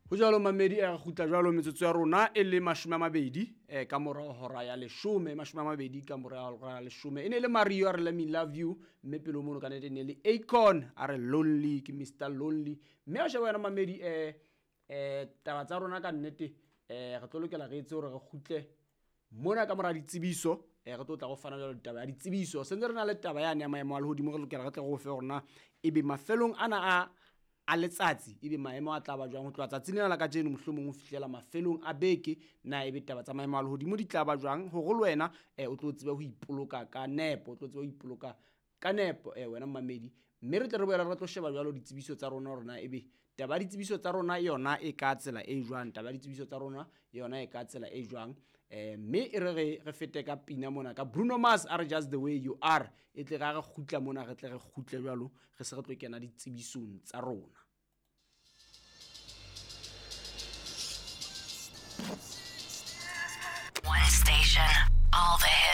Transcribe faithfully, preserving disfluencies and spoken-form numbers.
Ho jwalo mamedi, re kgutla jwalo metsotso ya rona e le mashome a mabedi eh, ka mora hora ya leshome, mashome a mabedi ka mora hora ya leshome. E ne le Mario a re let me love you, mme pele mono ka nnete e ne le Akon a re lonely, ke Mister Lonely. Mme a sheba wena mamedi, eh eh taba tsa rona ka nnete, eh re tlo lokela re etse hore re kgutle mona ka mora ditsebiso, eh re tlo tla go fana jwalo ditaba ya ditsebiso. Sentse re na le taba yane ya maemo a lehodimo, re lokela re tle re o fe hore na ebe mafelong ana a a letsatsi ebe maemo a tla ba jwang ho tloha tsatsing lena la kajeno mohlomong ho fihlela mafelong a beke, na ebe taba tsa maemo a lehodimo di tla ba jwang hore le wena eh, o tlo tsebe ho ipoloka ka nepo, o tlo tsebe ho ipoloka ka nepo eh, wena mmamedi. Mme re tle re boele re tlo sheba jwalo ditsebiso tsa rona hore na ebe taba ya ditsebiso tsa rona yona e ka tsela e jwang, taba ya ditsebiso tsa rona yona e ka tsela e jwang. Eh, mme e re re re fete ka pina mona ka Bruno Mars a re just the way you are, e tle re ha re kgutla mona re tle re kgutle jwalo re se re tlo kena ditsebisong tsa rona.